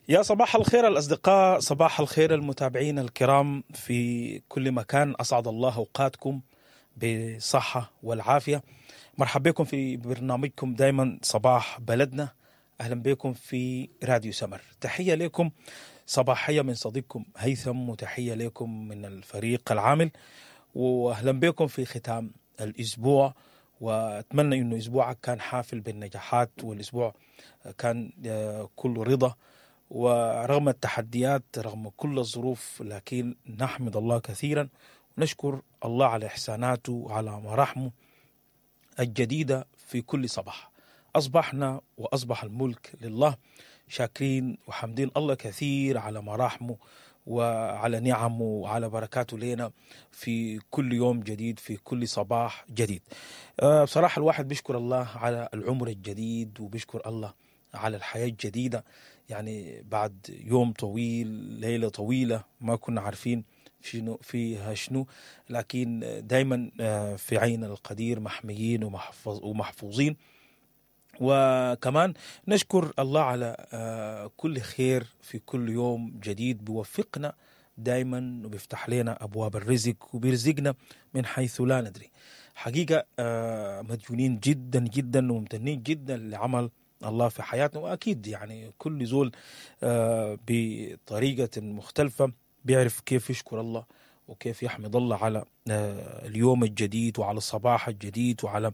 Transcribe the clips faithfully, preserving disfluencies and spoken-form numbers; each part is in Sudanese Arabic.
يا صباح الخير الأصدقاء، صباح الخير المتابعين الكرام في كل مكان. أسعد الله أوقاتكم بصحة والعافية. مرحبا بكم في برنامجكم دايما صباح بلدنا. أهلا بكم في راديو سمر. تحية لكم صباحية من صديقكم هيثم، وتحية لكم من الفريق العامل، وأهلا بكم في ختام الأسبوع. وأتمنى إنه أسبوعك كان حافل بالنجاحات، والأسبوع كان آه، كله رضا، ورغم التحديات رغم كل الظروف، لكن نحمد الله كثيرا ونشكر الله على إحساناته وعلى مراحمه الجديدة في كل صباح. أصبحنا وأصبح الملك لله، شاكرين وحمدين الله كثير على مراحمه وعلى نعمه وعلى بركاته لنا في كل يوم جديد، في كل صباح جديد. آه، بصراحة الواحد بيشكر الله على العمر الجديد، وبيشكر الله على الحياة الجديدة. يعني بعد يوم طويل، ليلة طويلة، ما كنا عارفين شنو فيها شنو، لكن دايما آه، في عين القدير محميين ومحفظ ومحفوظين. وكمان نشكر الله على آه، كل خير في كل يوم جديد، بيوفقنا دايما وبيفتح لنا أبواب الرزق وبيرزقنا من حيث لا ندري. حقيقة آه، مديونين جدا جدا وممتنين جدا لعمل الله في حياتنا. وأكيد يعني كل زول آه، بطريقة مختلفة بيعرف كيف يشكر الله وكيف يحمد الله على آه، اليوم الجديد وعلى الصباح الجديد وعلى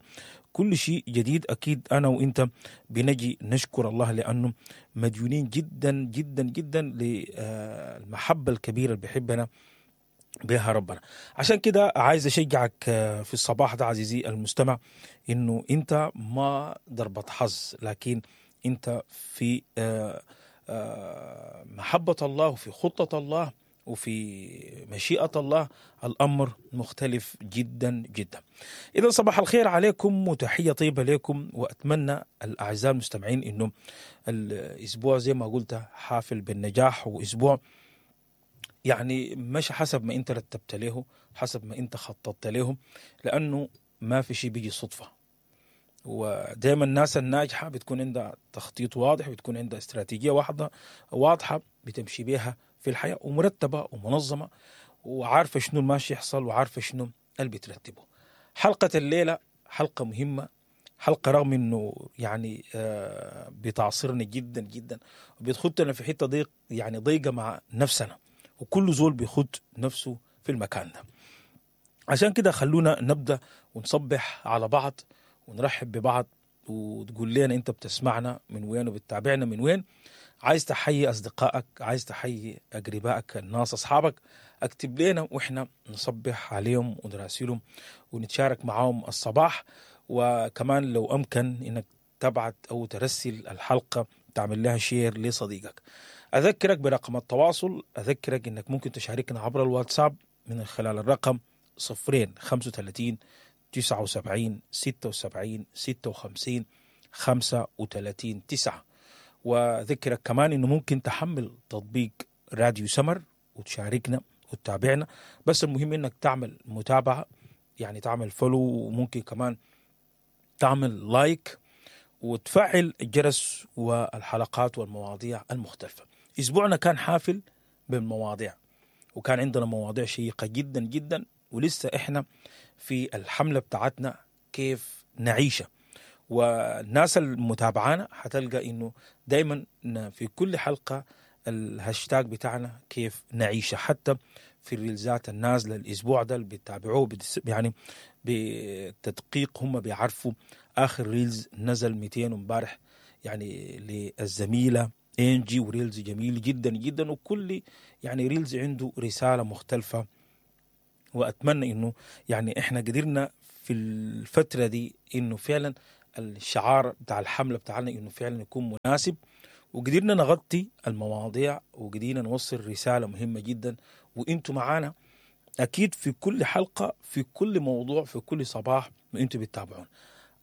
كل شيء جديد. أكيد أنا وإنت بنجي نشكر الله لأنه مديونين جدا جدا جدا للمحبة الكبيرة اللي بيحبنا بها ربنا. عشان كده عايز أشجعك آه، في الصباح ده عزيزي المستمع، إنه أنت ما ضربة حظ، لكن أنت في آه، آه، محبة الله وفي خطة الله وفي مشيئة الله. الأمر مختلف جدا جدا. إذا صباح الخير عليكم وتحية طيبة لكم، وأتمنى الأعزاء المستمعين إنه الأسبوع زي ما قلت حافل بالنجاح، وأسبوع يعني مش حسب ما أنت رتبت له، حسب ما أنت خططت له، لأنه ما في شيء بيجي صدفة. ودائما الناس الناجحة بتكون عندها تخطيط واضح، بتكون عندها استراتيجية واحدة واضحة بتمشي بيها في الحياة، ومرتبة ومنظمة، وعارفة شنو الماشي يحصل وعارفة شنو اللي بترتبه. حلقة الليلة حلقة مهمة، حلقة رغم انه يعني آه بتعصرنا جدا جدا وبتخدنا في حتة ضيق، يعني ضيقة مع نفسنا، وكل زول بيخد نفسه في المكان ده. عشان كده خلونا نبدأ ونصبح على بعض ونرحب ببعض، وتقول لنا انت بتسمعنا من وين وبتتابعنا من وين. عايز تحيي أصدقائك، عايز تحيي أقربائك، الناس أصحابك، اكتب لنا وإحنا نصبح عليهم ونراسلهم ونتشارك معاهم الصباح. وكمان لو أمكن إنك تبعت أو ترسل الحلقة، تعمل لها share لصديقك. أذكرك برقم التواصل، أذكرك إنك ممكن تشاركنا عبر الواتساب من خلال الرقم صفرين خمسة وثلاثين تسعة وسبعين ستة وسبعين ستة وخمسين خمسة وثلاثين تسعة. وذكرك كمان إنه ممكن تحمل تطبيق راديو سمر وتشاركنا وتتابعنا، بس المهم إنك تعمل متابعة، يعني تعمل follow، وممكن كمان تعمل like وتفعل الجرس والحلقات والمواضيع المختلفة. أسبوعنا كان حافل بالمواضيع، وكان عندنا مواضيع شيقة جدا جدا، ولسه إحنا في الحملة بتاعتنا كيف نعيشها. والناس المتابعانا حتلقى إنه دايما في كل حلقة الهاشتاج بتاعنا كيف نعيشها، حتى في الريلزات النازلة الأسبوع ده اللي بيتابعوه يعني بتدقيق، هم بيعرفوا آخر reels نزل مئتين امبارح يعني للزميلة إنجي، و reels جميل جدا جدا، وكل يعني reels عنده رسالة مختلفة. وأتمنى إنه يعني إحنا قدرنا في الفترة دي إنه فعلا الشعار بتاع الحملة بتاعنا إنه فعلا يكون مناسب، وقدرنا نغطي المواضيع وقدرنا نوصل رسالة مهمة جدا. وإنتوا معانا أكيد في كل حلقة، في كل موضوع، في كل صباح وإنتوا بتتابعون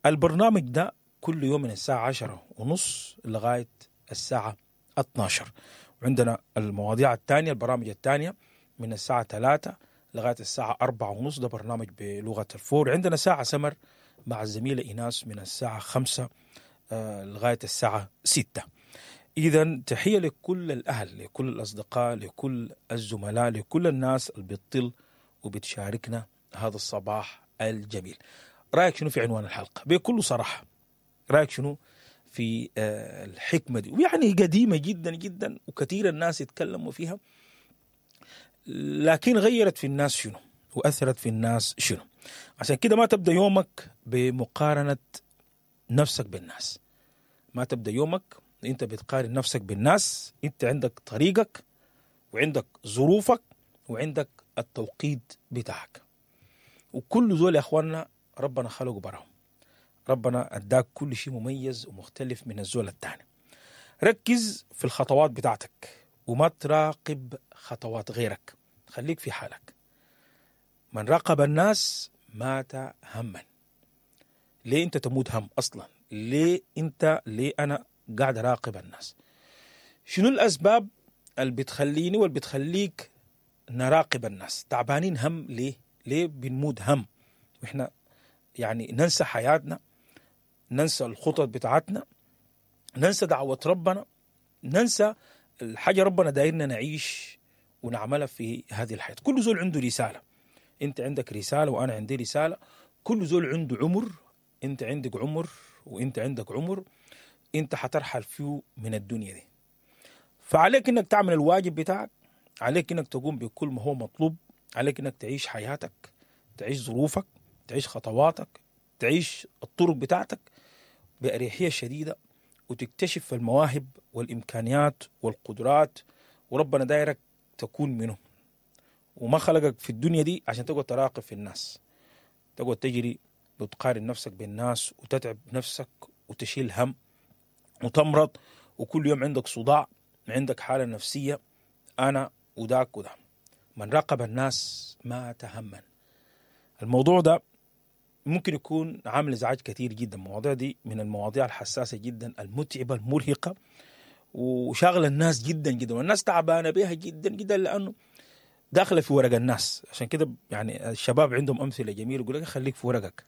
البرنامج ده كل يوم من الساعة عشرة ونص لغاية الساعة اتناشر. وعندنا المواضيع الثانية، البرامج الثانية من الساعة ثلاثة لغاية الساعة أربعة ونص، ده برنامج بلغة الفور. عندنا ساعة سمر مع الزميلة إيناس من الساعة خمسة لغاية الساعة ستة. إذا تحية لكل الأهل، لكل الأصدقاء، لكل الزملاء، لكل الناس اللي بتطل وبتشاركنا هذا الصباح الجميل. رأيك شنو في عنوان الحلقة؟ بكل صراحة رأيك شنو في الحكمة دي؟ ويعني قديمة جدا جدا وكثير الناس يتكلموا فيها، لكن غيرت في الناس شنو وأثرت في الناس شنو؟ عشان كده ما تبدأ يومك بمقارنة نفسك بالناس. ما تبدأ يومك انت بتقارن نفسك بالناس. انت عندك طريقك وعندك ظروفك وعندك التوقيت بتاعك، وكل زول يا اخواننا ربنا خلقه براهم، ربنا اداك كل شيء مميز ومختلف من الزول الثاني. ركز في الخطوات بتاعتك وما تراقب خطوات غيرك، خليك في حالك. من راقب الناس مات هما. ليه انت تموت هم اصلا؟ ليه انت ليه انا قاعد اراقب الناس؟ شنو الاسباب اللي بتخليني واللي بتخليك نراقب الناس؟ تعبانين هم ليه؟ ليه بنموت هم؟ واحنا يعني ننسى حياتنا، ننسى الخطط بتاعتنا، ننسى دعوة ربنا، ننسى الحاجة ربنا دايرنا نعيش ونعملها في هذه الحياة. كل زول عنده رسالة، انت عندك رسالة وانا عندي رسالة. كل زول عنده عمر، انت عندك عمر وانت عندك عمر، انت حترحل فيه من الدنيا دي. فعليك انك تعمل الواجب بتاعك، عليك انك تقوم بكل ما هو مطلوب، عليك انك تعيش حياتك، تعيش ظروفك، تعيش خطواتك، تعيش الطرق بتاعتك بأريحية شديدة، وتكتشف المواهب والإمكانيات والقدرات، وربنا دايرك تكون منه. وما خلقك في الدنيا دي عشان تقعد تراقب في الناس، تقعد تجري وتقارن نفسك بالناس وتتعب نفسك وتشيل هم وتمرض، وكل يوم عندك صداع، عندك حالة نفسية، أنا وذاك وده. من راقب الناس مات هما. الموضوع ده ممكن يكون عامل ازعاج كثير جدا. المواضيع دي من المواضيع الحساسة جدا، المتعبة، المرهقة، وشاغلة الناس جدا جدا، والناس تعبانة بها جدا جدا لأنه داخلة في ورق الناس. عشان كده يعني الشباب عندهم أمثلة جميلة، يقول لك خليك في ورقك،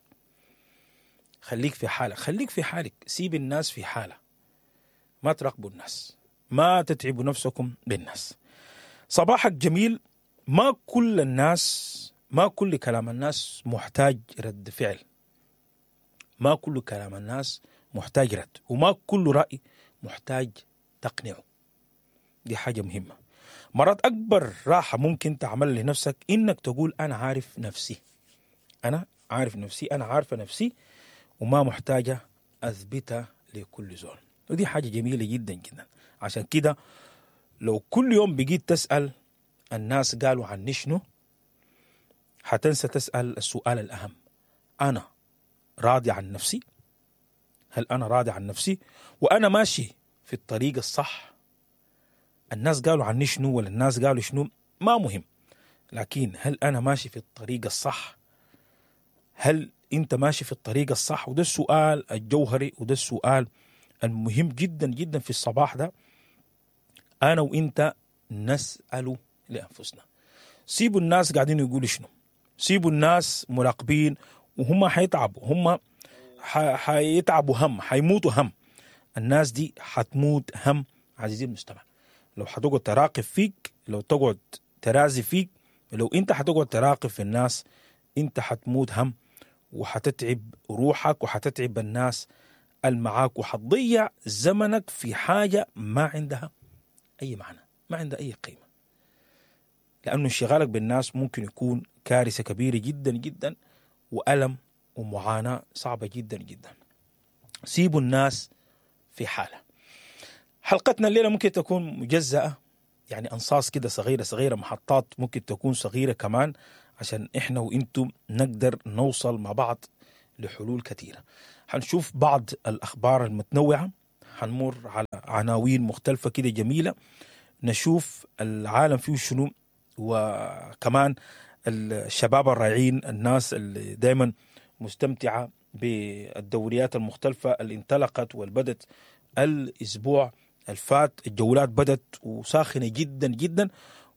خليك في حالك، خليك في حالك، سيب الناس في حالة، ما تراقبوا الناس، ما تتعبوا نفسكم بالناس. صباحك جميل. ما كل الناس، ما كل كلام الناس محتاج رد فعل، ما كل كلام الناس محتاج رد، وما كل رأي محتاج تقنعه. دي حاجة مهمة. مرات أكبر راحة ممكن تعمل لنفسك إنك تقول أنا عارف نفسي، أنا عارف نفسي، أنا عارفة نفسي، وما محتاجة أثبتها لكل زول. ودي حاجة جميلة جدا جدا. عشان كده لو كل يوم بقيت تسأل الناس قالوا عني شنو، حتنسى تسأل السؤال الأهم: أنا راضي عن نفسي؟ هل أنا راضي عن نفسي؟ وأنا ماشي في الطريق الصح؟ الناس قالوا عني شنو ولا الناس قالوا شنو ما مهم، لكن هل أنا ماشي في الطريق الصح؟ هل أنت ماشي في الطريق الصح؟ وده السؤال الجوهري، وده السؤال المهم جدا جدا في الصباح ده، أنا وإنت نسأله لأنفسنا. سيبوا الناس قاعدين يقولوا شنو، سيبوا الناس مراقبين، وهم حيتعبوا، هم حيتعبوا هم، حيموتوا هم. الناس دي حتموت هم عزيزي المستمع. لو حتقعد تراقب فيك، لو تقعد ترازي فيك، لو انت حتقعد تراقب في الناس، انت حتموت هم، وحتتعب روحك، وحتتعب الناس المعاك، وحتضيع زمنك في حاجة ما عندها أي معنى، ما عندها أي قيمة. لأنه انشغالك بالناس ممكن يكون كارثة كبيرة جدا جدا، وألم ومعاناة صعبة جدا جدا. سيبوا الناس في حالة. حلقتنا الليلة ممكن تكون مجزأة، يعني أنصاص كده صغيرة صغيرة، محطات ممكن تكون صغيرة كمان، عشان إحنا وإنتم نقدر نوصل مع بعض لحلول كثيرة. هنشوف بعض الأخبار المتنوعة، هنمر على عناوين مختلفة كده جميلة، نشوف العالم فيه شنو، وكمان الشباب الرائعين، الناس اللي دايما مستمتعة بالدوريات المختلفة اللي انطلقت والبدت الأسبوع الفات. الجولات بدت وساخنة جدا جدا،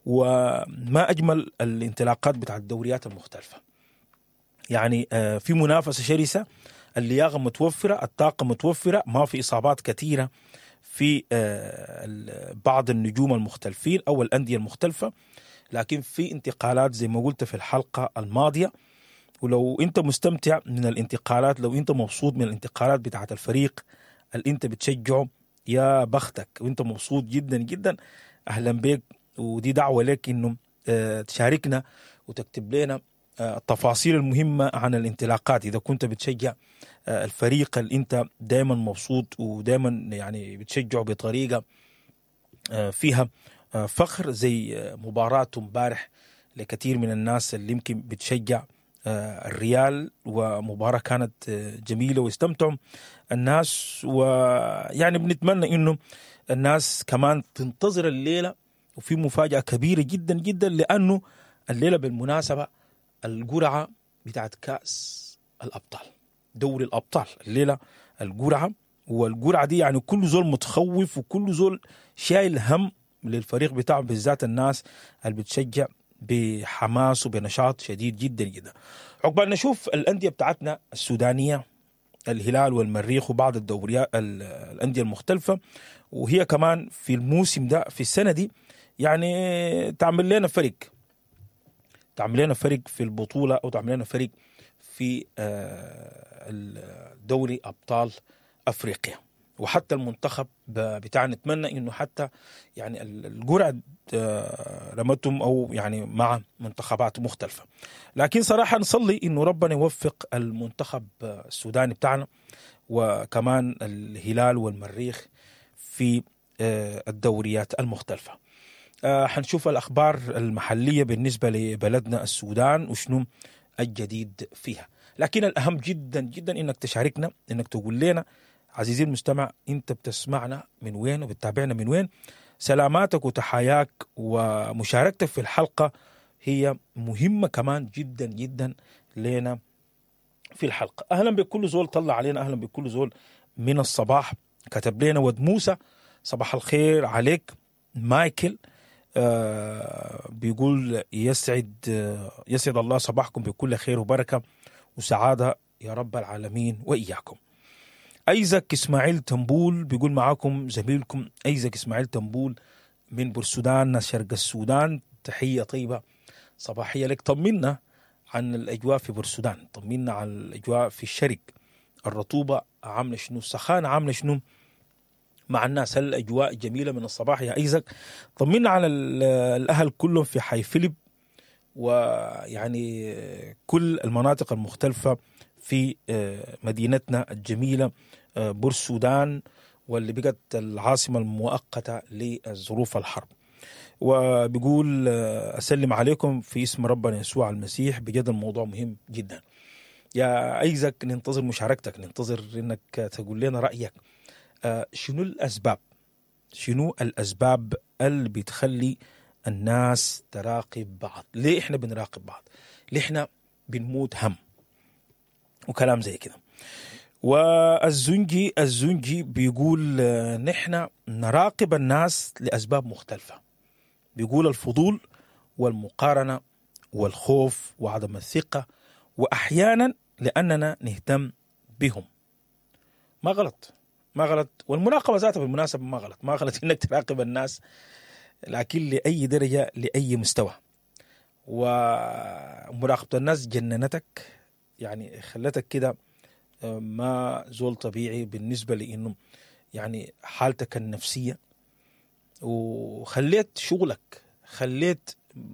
وما أجمل الانطلاقات بتاع الدوريات المختلفة. يعني في منافسة شرسة، اللياقة متوفرة، الطاقة متوفرة، ما في إصابات كثيرة في آه، بعض النجوم المختلفين او الاندية المختلفة، لكن في انتقالات زي ما قلت في الحلقة الماضية. ولو انت مستمتع من الانتقالات، لو انت مبسوط من الانتقالات بتاعت الفريق اللي انت بتشجعه، يا بختك وانت مبسوط جدا جدا، اهلا بك. ودي دعوه لك انه آه، تشاركنا وتكتب لنا آه، التفاصيل المهمة عن الانطلاقات اذا كنت بتشجع آه، الفريق اللي انت دائما مبسوط ودائما يعني بتشجعه بطريقة آه، فيها آه، فخر، زي آه، مباراة امبارح لكثير من الناس اللي يمكن بتشجع آه، الريال، ومباراة كانت آه، جميلة واستمتعوا الناس. ويعني بنتمنى انه الناس كمان تنتظر الليلة، وفي مفاجأة كبيرة جدا جدا، لأنه الليلة بالمناسبة القرعة بتاعت كأس الأبطال، دوري الأبطال، الليلة القرعة. والقرعة دي يعني كل زول متخوف وكل زول شايل هم للفريق بتاعه، بالذات الناس اللي بتشجع بحماس وبنشاط شديد جدا جدا. عقبال نشوف الأندية بتاعتنا السودانية، الهلال والمريخ وبعض الدوريات ال- الأندية المختلفة، وهي كمان في الموسم ده في السنة دي يعني تعمل لنا فرق، تعمل لنا فرق في البطولة أو تعمل لنا فرق في آه، الدوري أبطال أفريقيا. وحتى المنتخب ب- بتاعنا نتمنى انه حتى يعني ال- القرعة آه، رمتهم او يعني مع منتخبات مختلفة. لكن صراحة نصلي انه ربنا يوفق المنتخب السوداني بتاعنا وكمان الهلال والمريخ في آه، الدوريات المختلفة. آه، حنشوف الأخبار المحلية بالنسبة لبلدنا السودان وشنو الجديد فيها. لكن الأهم جدا جدا إنك تشاركنا، إنك تقول لنا عزيزي المستمع أنت بتسمعنا من وين وبتتابعنا من وين. سلاماتك وتحاياك ومشاركتك في الحلقة هي مهمة كمان جدا جدا لنا في الحلقة. أهلا بكل زول طلع علينا، أهلا بكل زول من الصباح كتب لنا. ود موسى صباح الخير عليك. مايكل آه بيقول يسعد آه يسعد الله صباحكم بكل خير وبركة وسعادة يا رب العالمين وإياكم. أيزك إسماعيل تنبول بيقول معاكم زميلكم أيزك إسماعيل تنبول من بورسودان شرق السودان، تحية طيبة صباحية لك. طمنا عن الأجواء في بورسودان، طمنا عن الأجواء في الشرق، الرطوبة عاملة شنو، السخانة عاملة شنو مع الناس، هل الأجواء جميلة من الصباح يا أيزك؟ طمنا على ال- الأهل كلهم في حي فيليب ويعني كل المناطق المختلفة في آه، مدينتنا الجميلة آه، بورسودان، واللي بقت العاصمة المؤقتة لظروف الحرب. وبيقول آه، أسلم عليكم في اسم ربنا يسوع المسيح، بجد الموضوع مهم جدا. يا أيزك ننتظر مشاركتك، ننتظر إنك تقول لنا رأيك. آه، شنو الأسباب، شنو الأسباب اللي بتخلي الناس تراقب بعض؟ ليه إحنا بنراقب بعض؟ ليه إحنا بنموت هم وكلام زي كده؟ والزنجي الزنجي بيقول آه، نحن نراقب الناس لأسباب مختلفة. بيقول الفضول والمقارنة والخوف وعدم الثقة، وأحيانا لأننا نهتم بهم. ما غلط، ما غلط، والمراقبة ذاتها بالمناسبة ما غلط، ما غلط إنك تراقب الناس، لكن لأي درجة، لأي مستوى. ومراقبة الناس جننتك، يعني خلتك كده ما زول طبيعي بالنسبة لإنه يعني حالتك النفسية، وخليت شغلك، خليت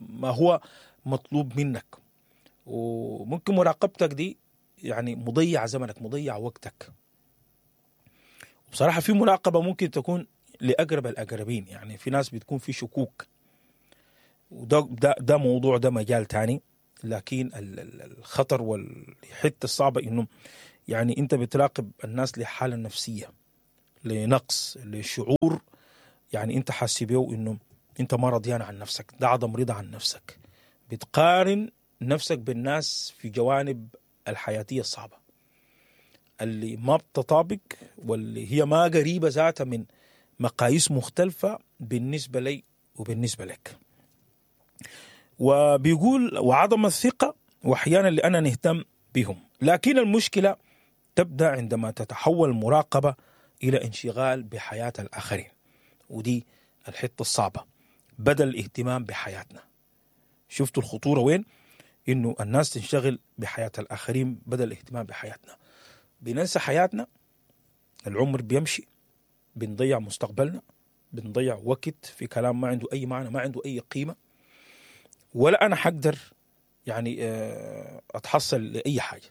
ما هو مطلوب منك. وممكن مراقبتك دي يعني مضيع زمنك، مضيع وقتك. بصراحة في مراقبة ممكن تكون لأقرب الأقربين، يعني في ناس بتكون في شكوك، وده ده, ده موضوع، ده مجال تاني. لكن الخطر والحتة الصعبة إنه يعني أنت بتراقب الناس لحالة نفسية، لنقص، لشعور يعني أنت حاسس بيه إنه أنت ما رضيان عن نفسك، ده عدم رضا عن نفسك. بتقارن نفسك بالناس في جوانب الحياتية الصعبة اللي ما بتطابق، واللي هي ما قريبة ذاتها من مقاييس مختلفة بالنسبة لي وبالنسبة لك. وبيقول وعدم الثقة، وأحيانا لأننا نهتم بهم. لكن المشكلة تبدأ عندما تتحول المراقبة الى انشغال بحياة الاخرين، ودي الحتة الصعبة، بدل الاهتمام بحياتنا. شفتوا الخطورة وين؟ انه الناس تنشغل بحياة الاخرين بدل الاهتمام بحياتنا. بننسى حياتنا، العمر بيمشي، بنضيع مستقبلنا، بنضيع وقت في كلام ما عنده اي معنى، ما عنده اي قيمة، ولا انا حقدر يعني اتحصل لاي حاجة،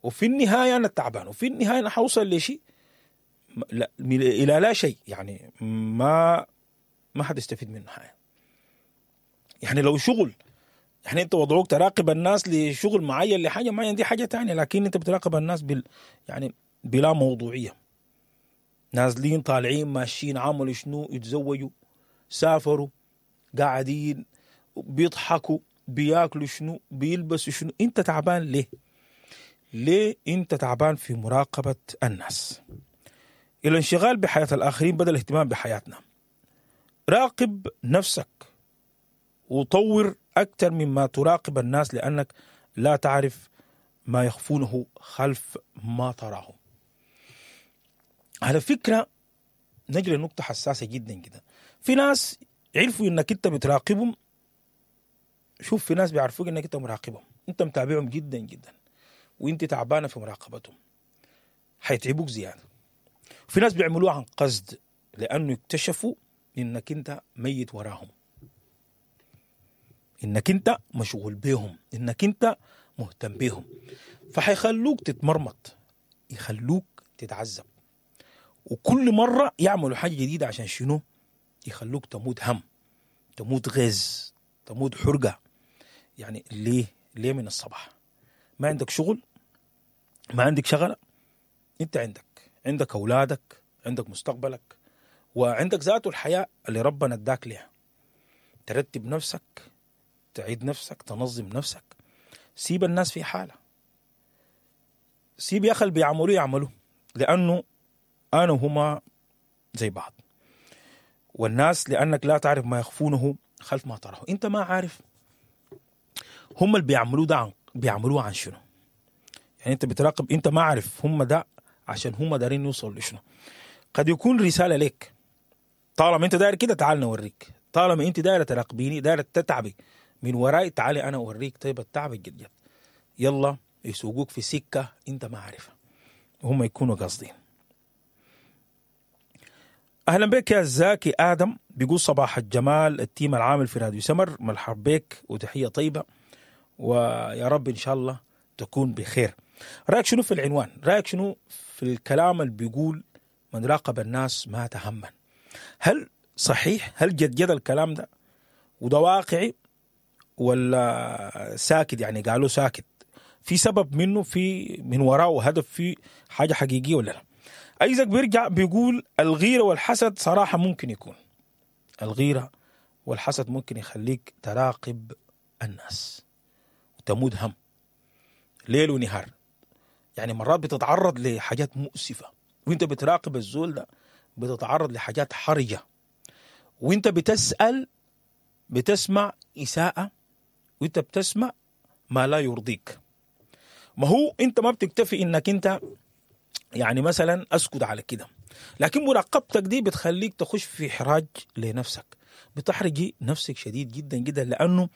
وفي النهاية انا تعبان، وفي النهاية انا حوصل لشيء لا الى لا شيء، يعني ما ما حتستفيد منه حاجة. يعني لو شغل، يعني انت وضعوك تراقب الناس لشغل معين لحاجة معينة، دي حاجة تانية، لكن انت بتراقب الناس بال يعني بلا موضوعية، نازلين طالعين ماشيين عملوا شنو، يتزوجوا، سافروا، قاعدين بيضحكوا، بياكلوا شنو، بيلبسوا شنو. انت تعبان ليه؟ ليه انت تعبان في مراقبة الناس؟ الانشغال بحياة الآخرين بدل الاهتمام بحياتنا. راقب نفسك وطور أكثر مما تراقب الناس، لأنك لا تعرف ما يخفونه خلف ما تراه. على فكرة نجري نقطة حساسة جدا جدا. في ناس عرفوا انك انت بتراقبهم. شوف، في ناس بيعرفوك انك انت مراقبهم، انت متابعهم جدا جدا، وانت تعبانة في مراقبتهم، حيتعبوك زيادة. في ناس بيعملوها عن قصد، لانه اكتشفوا انك انت ميت وراهم، انك انت مشغول بيهم، انك انت مهتم بيهم، فحيخلوك تتمرمط، يخلوك تتعذب، وكل مرة يعملوا حاجة جديدة عشان شنو؟ يخلوك تموت هم، تموت غيظ، تموت حرقة. يعني ليه؟ ليه من الصباح؟ ما عندك شغل؟ ما عندك شغلة؟ انت عندك عندك أولادك، عندك مستقبلك، وعندك ذاته الحياة اللي ربنا اداك لها. ترتب نفسك، تعيد نفسك، تنظم نفسك، سيب الناس في حالة، سيب يا أخي اللي بيعملوه يعملوه، لأنه أنا وهما زي بعض. والناس لأنك لا تعرف ما يخفونه خلف ما تراه. أنت ما عارف هم اللي بيعملوه ده عن بيعملوه عن شنو. يعني أنت بتراقب، أنت ما عارف هم ده عشان هم دارين يوصلوا لشنو. قد يكون رسالة لك، طالما أنت داير كده تعال نوريك، طالما أنت دايرة تراقبيني، دايرة تتعبي من وراي، تعالي أنا أوريك. طيب التعب الجد، يلا يسوقوك في سكة أنت ما عارفها، وهم يكونوا قاصدين. أهلا بك يا زاكي آدم، بيقول صباح الجمال، ال team العامل في راديو سمر، مرحب بك وتحية طيبة، ويا رب إن شاء الله تكون بخير. رأيك شنو في العنوان؟ رأيك شنو في الكلام اللي بيقول من راقب الناس مات هما؟ هل صحيح؟ هل جد جد الكلام ده وده واقعي ولا ساكت؟ يعني قالوا ساكت، في سبب منه، في من وراه هدف، في حاجة حقيقية ولا لا؟ أيزك بيرجع بيقول الغيرة والحسد صراحة ممكن يكون، الغيرة والحسد ممكن يخليك تراقب الناس وتموت هم ليل ونهار. يعني مرات بتتعرض لحاجات مؤسفة وانت بتراقب الزول ده، بتتعرض لحاجات حرجة وانت بتسأل، بتسمع إساءة، وانت بتسمع ما لا يرضيك. ما هو انت ما بتكتفي انك انت يعني مثلا اسكت على كده، لكن مراقبتك دي بتخليك تخش في حراج لنفسك، بتحرجي نفسك شديد جدا جدا، لانه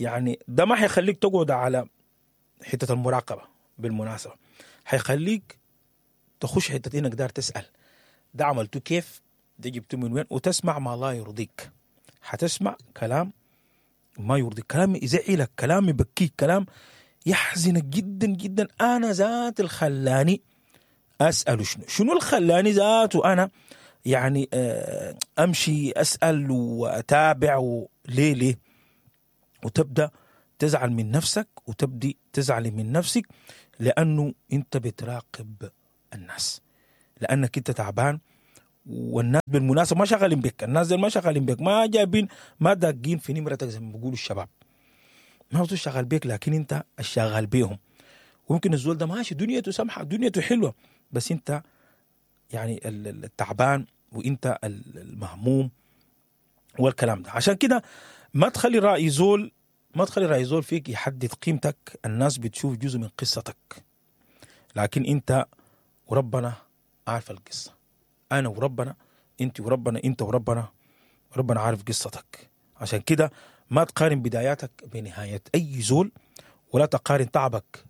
يعني ده ما حيخليك تقعد على حتة المراقبة. بالمناسبة حيخليك تخش حتة انك دار تسأل ده عملته كيف، ده جبته من وين، وتسمع ما لا يرضيك. حتسمع كلام ما يرضيك، كلام يزعلك، كلام يبكيك، كلام يحزنك جدا جدا. انا ذات الخلاني أسأل شنو شنو الخلاني ذاته أنا يعني أمشي أسأل وأتابع ليه ليه؟ وتبدأ تزعل من نفسك، وتبدي تزعل من نفسك، لأنه أنت بتراقب الناس، لأنك أنت تعبان، والناس بالمناسبة ما شغالين بك، الناس زي ما شغالين بك، ما جايبين، ما داقين في نمرتك زي ما بيقولوا الشباب، ما هو شغال بك، لكن أنت الشغال بيهم. وممكن الزول ده ماشي دنيته سمحة، دنيته حلوة، بس انت يعني التعبان وانت المهموم والكلام ده. عشان كده ما تخلي رأي زول، ما تخلي رأي زول فيك يحدد قيمتك. الناس بتشوف جزء من قصتك، لكن انت وربنا عارف القصة. انا وربنا، انت وربنا، انت وربنا، ربنا عارف قصتك. عشان كده ما تقارن بداياتك بنهاية اي زول، ولا تقارن تعبك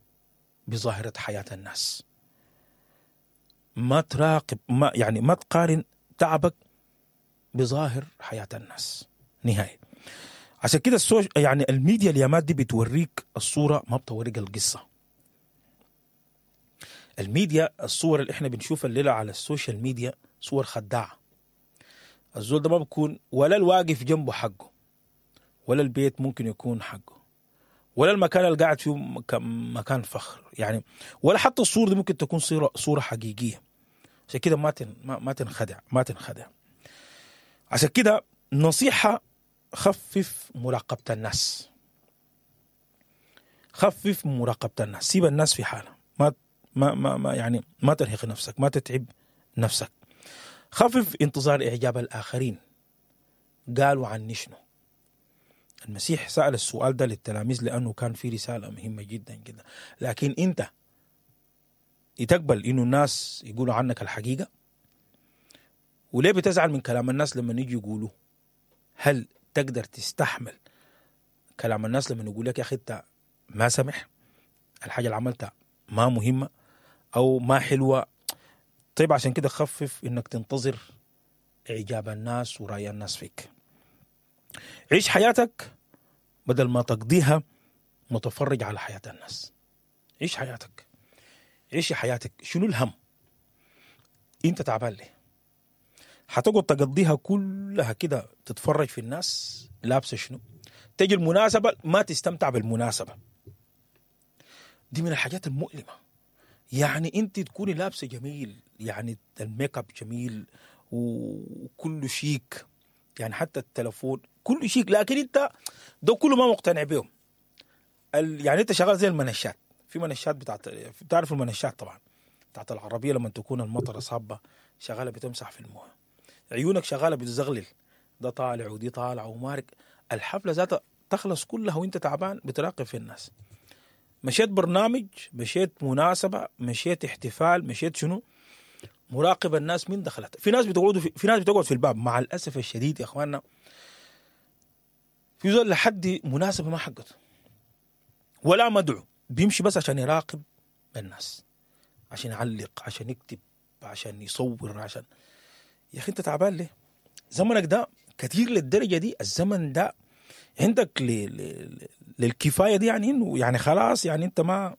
بظاهرة حياة الناس. ما تراقب، ما يعني ما تقارن تعبك بظاهر حياة الناس نهائي. عشان كده ال soc يعني الميديا اليامات دي بتوريك الصورة، ما بتوريك القصة. الميديا، الصور اللي احنا بنشوفها الليلة على ال social media صور خداعة. الزول ده ما بكون ولا الواقف جنبه حقه، ولا البيت ممكن يكون حقه، ولا المكان اللي قاعد فيه مكان فخر يعني، ولا حتى الصورة دي ممكن تكون صورة صورة حقيقية. عشان كده ما تن ما تنخدع، ما تنخدع. عشان كده نصيحة، خفف مراقبة الناس، خفف مراقبة الناس، سيب الناس في حالها، ما ما ما, ما يعني ما ترهق نفسك، ما تتعب نفسك. خفف انتظار إعجاب الآخرين، قالوا عني شنو. المسيح سأل السؤال ده للتلاميذ لأنه كان في رسالة مهمة جدا جدا. لكن أنت تقبل إنه الناس يقولوا عنك الحقيقة؟ وليه بتزعل من كلام الناس لما يجي يقولوا؟ هل تقدر تستحمل كلام الناس لما يقول لك يا أخي أنت ما سمح، الحاجة اللي عملتها ما مهمة أو ما حلوة؟ طيب عشان كده خفف إنك تنتظر إعجاب الناس ورأي الناس فيك. عيش حياتك بدل ما تقضيها متفرج على حياة الناس. عيش حياتك، عيش حياتك. شنو الهم؟ انت تعبان ليه؟ هتقعد تقضيها كلها كده تتفرج في الناس لابسه شنو؟ تجي المناسبة ما تستمتع بالمناسبة. دي من الحاجات المؤلمة. يعني انت تكوني لابسه جميل، يعني الميك اب جميل وكله شيك، يعني حتى التلفون كله شيك، لكن انت ده كله ما مقتنع بيهم. يعني انت شغال زي المنشات. في منشات بتاعت، بتعرف المنشات طبعا بتاعت العربية لما تكون المطره صابه شغالة بتمسح في المويه، عيونك شغالة بتزغلل، ده طالع ودي طالع ومارك. الحفلة ذاتها تخلص كلها وانت تعبان بتراقب في الناس. مشيت برنامج، مشيت مناسبة، مشيت احتفال، مشيت شنو، مراقب الناس من دخلت. في ناس بتقعد في, في ناس بتقعد في الباب. مع الاسف الشديد يا اخواننا، في زول لحد مناسبة ما حقته ولا مدعو، بيمشي بس عشان يراقب الناس، عشان يعلق، عشان يكتب، عشان يصور، عشان يا اخي انت تعبان ليه؟ زمنك ده كثير للدرجة دي. الزمن ده عندك ل... ل... للكفايه دي، يعني انه يعني خلاص، يعني انت ما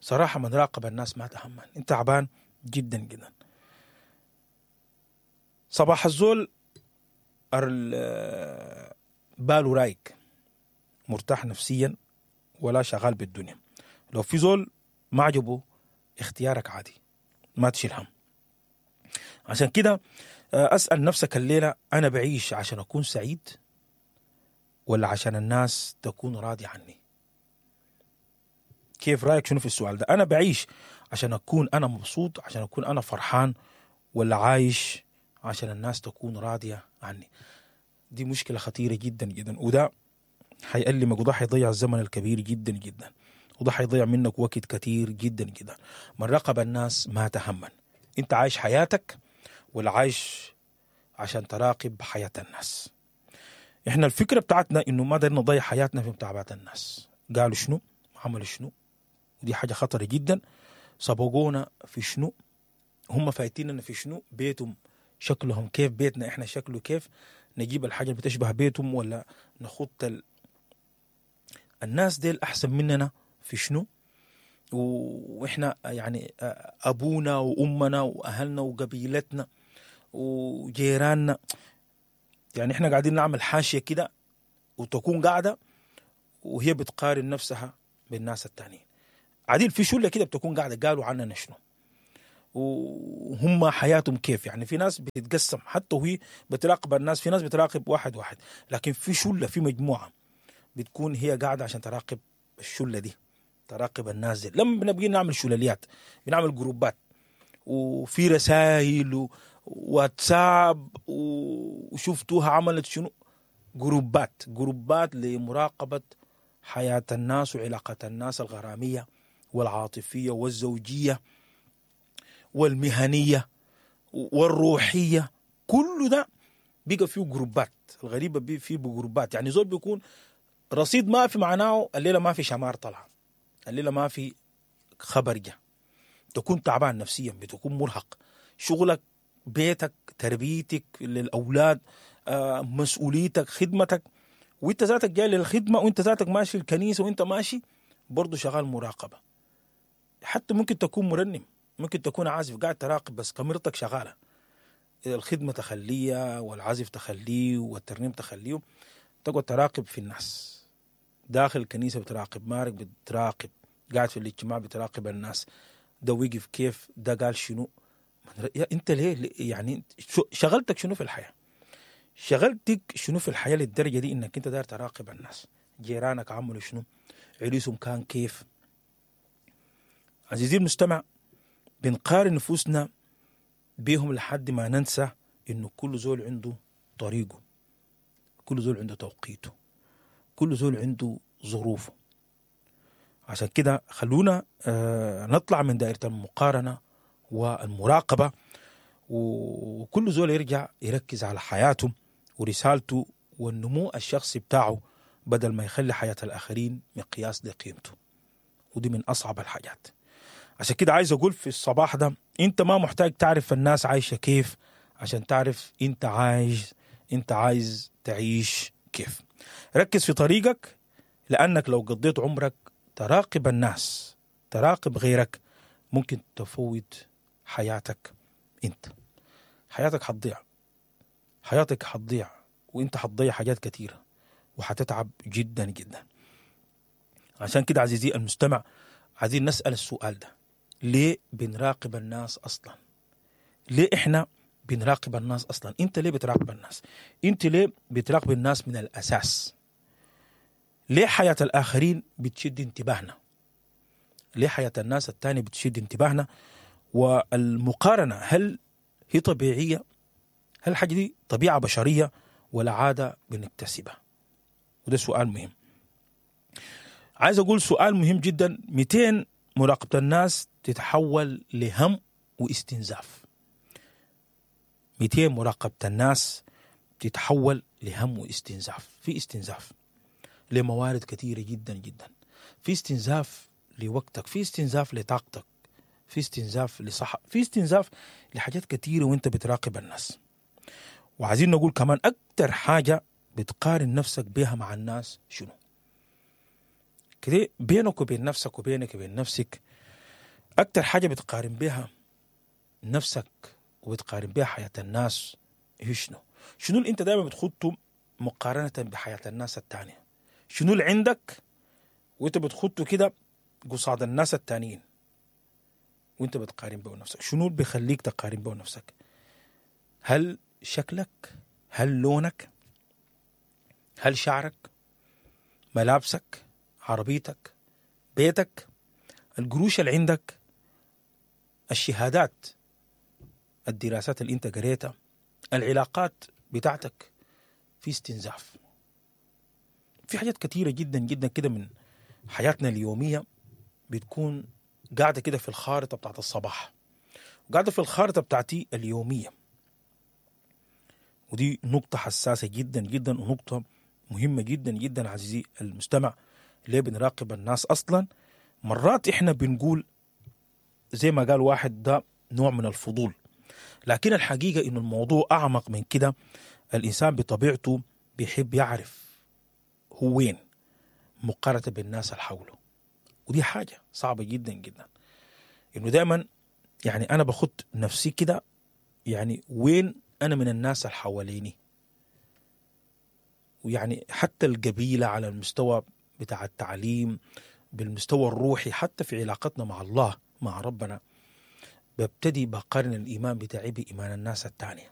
صراحة من راقب الناس ما تهمن، انت تعبان جدا جدا. صباح الزول باله رايق، مرتاح نفسيا، ولا شغال بالدنيا. لو في زول ما عجبه اختيارك عادي، ما تشيل هم. عشان كده أسأل نفسك الليلة، أنا بعيش عشان أكون سعيد ولا عشان الناس تكون راضية عني؟ كيف رأيك شنو في السؤال ده؟ أنا بعيش عشان أكون أنا مبسوط، عشان أكون أنا فرحان، ولا عايش عشان الناس تكون راضية عني؟ دي مشكلة خطيرة جدا جدا، وده حيألمك، وده حيضيع الزمن الكبير جدا جدا، وده حيضيع منك وقت كتير جدا جدا. من راقب الناس ما تهمن. انت عايش حياتك ولا عايش عشان تراقب حياة الناس؟ احنا الفكرة بتاعتنا انه ما دايرين نضيع حياتنا في متابعة الناس، قالوا شنو، عملوا شنو، ودي حاجة خطرة جدا. سبقونا في شنو، هم فايتيننا في شنو، بيتهم شكلهم كيف، بيتنا احنا شكله كيف، نجيب الحاجة اللي بتشبه بيتهم ولا نخط ال... الناس ديل احسن مننا في شنو، واحنا يعني ابونا وامنا واهلنا وقبيلتنا وجيراننا، يعني احنا قاعدين نعمل حاشية كده وتكون قاعدة وهي بتقارن نفسها بالناس التانيين. عديل في شلة كده بتكون قاعدة قالوا عننا شنو وهم حياتهم كيف. يعني في ناس بتتقسم حتى وهي بتراقب الناس، في ناس بتراقب واحد واحد، لكن في شلة، في مجموعة بتكون هي قاعدة عشان تراقب الشلة دي، تراقب الناس دي. لما بنبقي نعمل شلاليات، بنعمل جروبات وفي رسائل وواتساب وشفتوها عملت شنو، جروبات جروبات لمراقبة حياة الناس وعلاقة الناس الغرامية والعاطفية والزوجية. والمهنية والروحية، كل ده بقى فيه جروبات. الغريبة بي فيه جروبات، يعني زول بيكون رصيد ما في معناه الليلة ما في شمار طلع، الليلة ما في خبر جا، تكون تعبان نفسيا، بتكون مرهق، شغلك، بيتك، تربيتك للأولاد، آه، مسؤوليتك، خدمتك، وانت ذاتك جاي للخدمة، وانت ذاتك ماشي الكنيسة، وانت ماشي برضه شغال مراقبة. حتى ممكن تكون مرنم، ممكن تكون عازف قاعد تراقب، بس كاميرتك شغالة، الخدمة تخليها والعزف تخليه والترنيم تخليه، تقعد تراقب في الناس داخل الكنيسة، بتراقب مارك، بتراقب قاعد في الاجتماع، بتراقب الناس، ده وقف كيف، ده قال شنو. يا انت ليه يعني شغلتك شنو في الحياة؟ شغلتك شنو في الحياة للدرجة دي انك انت داير تراقب الناس؟ جيرانك عملوا شنو؟ عريسهم كان كيف؟ عزيزي المستمع، بنقارن نفوسنا بيهم لحد ما ننسى انه كل زول عنده طريقه، كل زول عنده توقيته، كل زول عنده ظروفه. عشان كده خلونا آه نطلع من دائرة المقارنة والمراقبة، وكل زول يرجع يركز على حياته ورسالته والنمو الشخصي بتاعه، بدل ما يخلي حياة الآخرين مقياس لقيمته. ودي من أصعب الحاجات. عشان كده عايز أقول في الصباح ده، أنت ما محتاج تعرف الناس عايشة كيف عشان تعرف أنت عايز أنت عايز تعيش كيف. ركز في طريقك، لأنك لو قضيت عمرك تراقب الناس، تراقب غيرك، ممكن تفوت حياتك أنت. حياتك حتضيع، حياتك حتضيع، وانت حتضيع حاجات كثيرة وحتتعب جدا جدا. عشان كده عزيزي المستمع، عايزين نسأل السؤال ده: ليه بنراقب الناس أصلا؟ ليه إحنا بنراقب الناس أصلا؟ أنت ليه بتراقب الناس؟ أنت ليه بتراقب الناس من الأساس؟ ليه حياة الآخرين بتشد انتباهنا؟ ليه حياة الناس التانية بتشد انتباهنا؟ والمقارنة هل هي طبيعية؟ هل الحاجة دي طبيعة بشرية ولا عادة بنكتسبها؟ وده سؤال مهم. عايز أقول سؤال مهم جدا: مئتين مراقبة الناس تتحول لهم واستنزاف. مئتين مراقبة الناس تتحول لهم واستنزاف. في استنزاف لموارد كثيرة جدا جدا، في استنزاف لوقتك، في استنزاف لطاقتك، في استنزاف لصحة، في استنزاف لحاجات كثيرة وانت بتراقب الناس. وعايزين نقول كمان أكتر حاجة بتقارن نفسك بها مع الناس شنو؟ كده بينك وبين نفسك وبينك وبين نفسك، أكتر حاجة بتقارن بها نفسك وبتقارن بها حياة الناس هي شنو؟ شنو اللي انت دايما بتخطه مقارنة بحياة الناس التانية؟ شنو اللي عندك وانت بتخطه كده قصاد الناس التانيين وانت بتقارن به نفسك؟ شنو اللي بيخليك تقارن به نفسك؟ هل شكلك؟ هل لونك؟ هل شعرك؟ ملابسك؟ عربيتك؟ بيتك؟ القروش اللي عندك؟ الشهادات؟ الدراسات اللي انت قريتها؟ العلاقات بتاعتك؟ في استنزاف، في حاجات كثيرة جدا جدا كده من حياتنا اليومية بتكون قاعدة كده في الخارطة بتاعت الصباح، قاعدة في الخارطة بتاعتي اليومية. ودي نقطة حساسة جدا جدا ونقطة مهمة جدا جدا عزيزي المستمع. ليه بنراقب الناس أصلا؟ مرات إحنا بنقول زي ما قال واحد ده نوع من الفضول، لكن الحقيقة إنه الموضوع أعمق من كده. الإنسان بطبيعته بيحب يعرف هو وين مقارنة بالناس اللي حوله، ودي حاجة صعبة جدا جدا. إنه دائما يعني أنا بخط نفسي كده، يعني وين أنا من الناس اللي حواليني، ويعني حتى القبيلة على المستوى بتاع التعليم، بالمستوى الروحي، حتى في علاقتنا مع الله مع ربنا، ببتدي بقارن الإيمان بتاعي بإيمان الناس التانية.